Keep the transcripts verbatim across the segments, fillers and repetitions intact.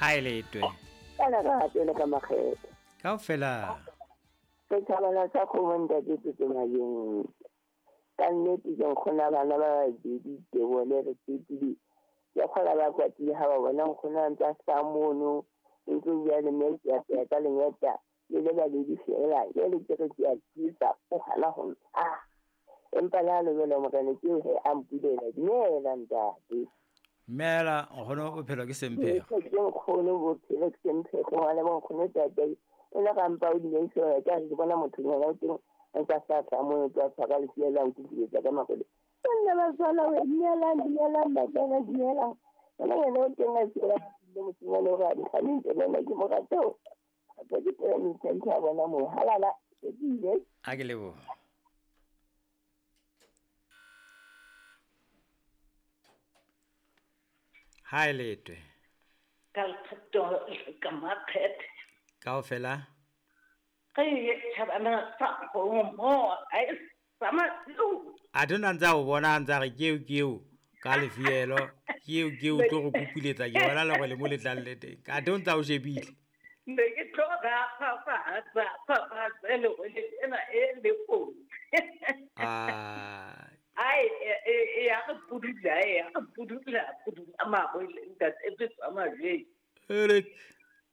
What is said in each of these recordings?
Ha e letwe. Ka lerato le ka makgetho. Kaofela. Setjhabana sa kgomo ntate Tsotsomajeng. Ka nnete ke nkgona bana ba babedi ke bone re tsepile. Ke kgola ba kwatile ha ba bona nkgono a ntse a sa mono. Ntse o bua le mme ke a ka lengeta. Le le babedi fela. Jwale ke re ke a tisa o hana ho ah. Empa le ha le jwalo morena ke he a mpulela. Dumela ntate. Mela nkgono bophelo ke semphego. Ke nkgono bophelo ke semphego ngwana bo nkgono tate. O ne ga mpa o dinaiso ka re ke bona motho nyana o teng a ntse a sa tla mono tla tshwara lefiela a nkukuletsa ka makgolo. Nna ba tswala we dumelang dumelang batswana dumelang. Bona yena o teng a tswela le mosimane o re a dikganeng nna ke mo rata o. Gape ke tsela metšhentšhe a bona mo halala ke ile. A ke leboha. Ha e letwe. Ka lekgetho ka makgethe. Kaofela. Ke tjhabana sa kgomo a e sa masiu. A tona ntse a o bona a ntse a re ke eo ke eo ka lefielo ke eo ke eo tlo go kukuletsa ke bona le gore le mo letlang le teng. A tona ntse a o shebile. Ne ke tlo ga fafatsa fafatsa le go le ena e le kotsi. Ah. Ai e ya re pudula e ya re pudula pudula mabo ntate e tsa maje. Ere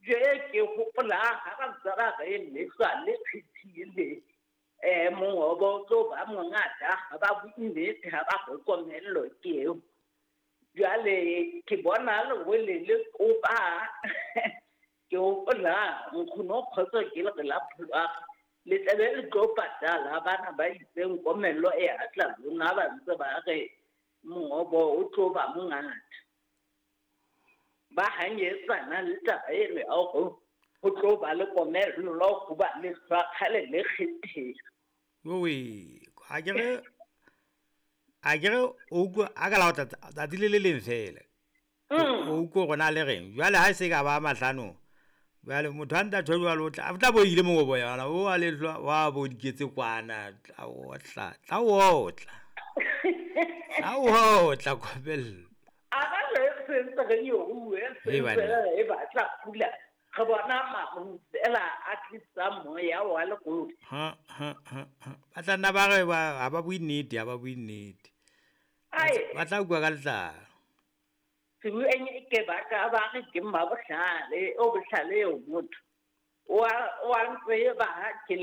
Je ke hopola ha ba tsara re le hlwa le phethile eh mongobo tlo ba mongata ha ba buile ha ba go komello ke eo. Jwale ke bona le wele le kopa ke hopola nkgono kgotso ke le la phulwa le tlabe le tlo patala bana ba itseng komello e atla lona ba ntse ba re mongobo o tlo ba mongata. Ba hanyetsana le taba eno ya hore ho tlo ba le komello ho ba le hlwa le kgethehile. Owe, ha ke re a ke re o utlwa a ka la o tsatsi le le leng fela. O utlwe hore na le reng. Jwale ha e se ka ba mahlano. Jwale motho a ntse a tjho jwalo o tla o tla bo ile mongobo yona o a le hlwa wa bo diketse kwana tla o tla tla o tla. Tla o tla komello. A ba le sentse re yo e sentse e batla pula re bona maru fela a tlisa moya wa legodi. Ha ha ha ba tla nna ba re ba ha ba bue nnete ha ba bue nnete. Ai ba tla bua ka letlalo. Sebueng ke ba ka ba re ke mmabohlale o bohlale o motho. Wa wa ntse ba ke